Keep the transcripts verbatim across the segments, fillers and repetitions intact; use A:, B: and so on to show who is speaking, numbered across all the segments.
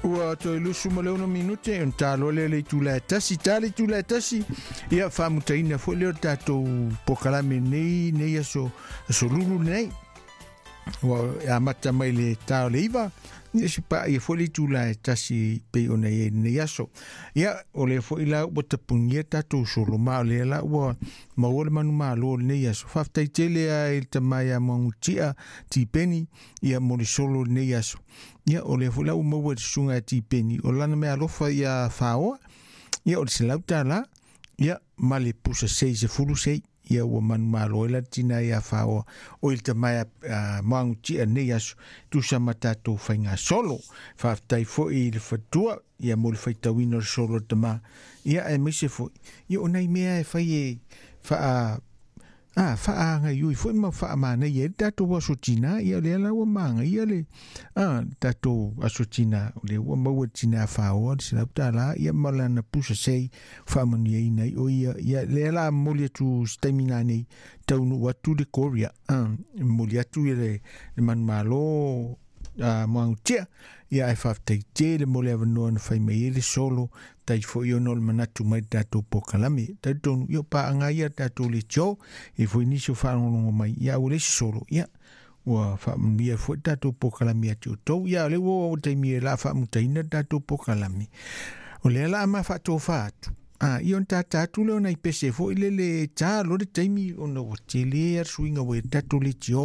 A: Ua toe lusu ma le ono minute on tā loa lea le itula e tasi, tā le itula e tasi, ia faamutaina foʻi lea o le tatou pokalame nei nei aso aso lulu nei. Ua amata mai le tā o le iva, ia si paa ia foʻi le itula e tasi pei ona i ai lenei aso. Ia o lea foʻi la ua tapunia tatou solo ma o lea la ua maua le manumālō o lenei aso. Faafetai tele a i le tamā iā Muagututia Tipeni ia mo le solo o lenei aso. Ia o lea foʻi la ua maua i le susuga ia Tipeni o lana mea alofa ia Faoa, ia o le selau tālā, ia ma le pusa sei sefulu sei. Ia ua manumālō ai la le tina ia Faoa o i le tamā ia Muagututia nei aso tusa ma tatou faiga solo. Faafetai foʻi i le fatua ia mo le faitauina o le solo o le tamā. Ia aemaise foʻi ia o nai mea e fai e faa a faagaioi foʻi ma faamanaia ai le tatou aso tinā. Ia o lea la ua magaia le a tatou aso tinā, o lea ua maua le tinā Faoa le selau tālā ia ma lana pusa sei faamanuiaina ai o ia. Ia lea la momoli atu se taimi nanei taunuu atu le Korea, a momoli atu ia le, le manumālō a Muagututia. Ia ae faafetai tele mo le avanoa na fai mai ai le solo tai foʻi ona o le manatu mai le tatou pokalame. Talitonu ia o paaga ia le tatou leitio e foi nisi o faalogologo mai, ia aua le isi solo, ia ua faamanuia foʻi le tatou pokalame ia te outou. Ia o lea ua oo taimi e la faamutaina le tatou pokalame, o lea la a ma faatofā atu. A ia ona tātā atu lea o nai pese foʻi lele tā loa le taimi ona ua tele a le suiga ua i le tatou leitio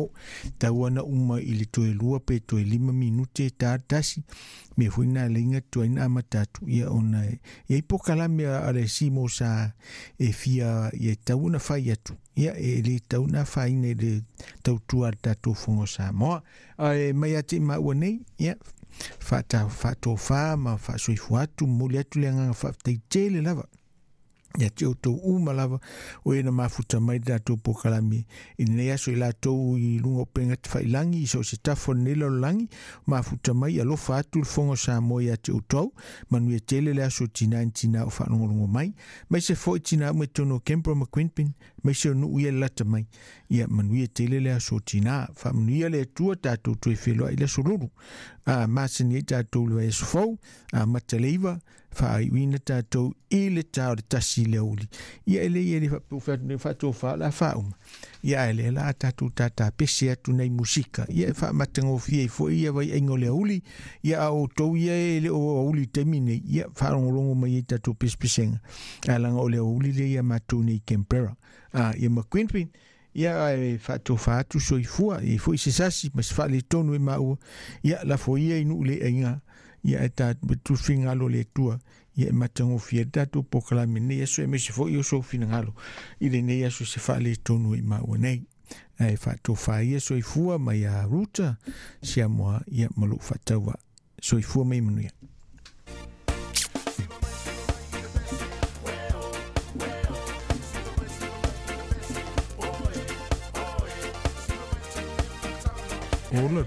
A: tau ana uma i le toe lua pe toe lima minute tā le tasi mea foʻi na alaiga tuai na amata atu. Ia ona e iai pokalame a le simo sa e fia ia e tau ona fai atu, ia e lē tau na afaina i le tautua a le tatou fono o Samoa. Ae mai ia te i maua nei, ia faata faatofā ma faasoifua atu, momoli atu le agaga faafetai tele lava ia te outou uma lava o e na mafuta mai le tatou pokalame i lenei aso i latou i luga o upega tafailagi i so o se tafa o lenei lalolagi mafuta mai. Alofa atu le fono o Samoa ia te outou, manuia tele le aso o tinā ni tinā o faalogologo mai, mai se foʻi tinā uma i totonu o Canberra ma Queanbeyan, mai se o nuu ia le lata mai. Ia manuia tele le aso o tinā, faamanuia le Atua tatou toe feloai le aso lulu a masani ai tatou le vaiaso fou amata le iva faaiuina tatou i le tā o le tasi i le aoauli. Ia e lei e le faapea faatofā o le a faauma. Ia ae lea la a tatou tātāpese atu nei musika, ia e faamatagofie ai foʻi ia vaiaiga o le aoauli. Ia a outou ia e le o aoauli i taimi nei, ia faalogologo mai ai tatou pesepesega ae laga o le aoauli lea ia matou nei i Canberra a ia ma Queanbeyan. Ia ae faatofā atu soifua e foʻi se sasi ma se faaletonu e maua, ia lafo ia i nuu le aiga, ia e ta tufinagalo le Atua ia e matagofie le tatou pokalame nei aso, aemaise foʻi o sou finagalo i lenei aso se faaletonu i maua nei. Ae faatofā ia soifua mai ia Ruta Siamoa ia ma lou faatauvaa. Soifua mai manuia. Ola.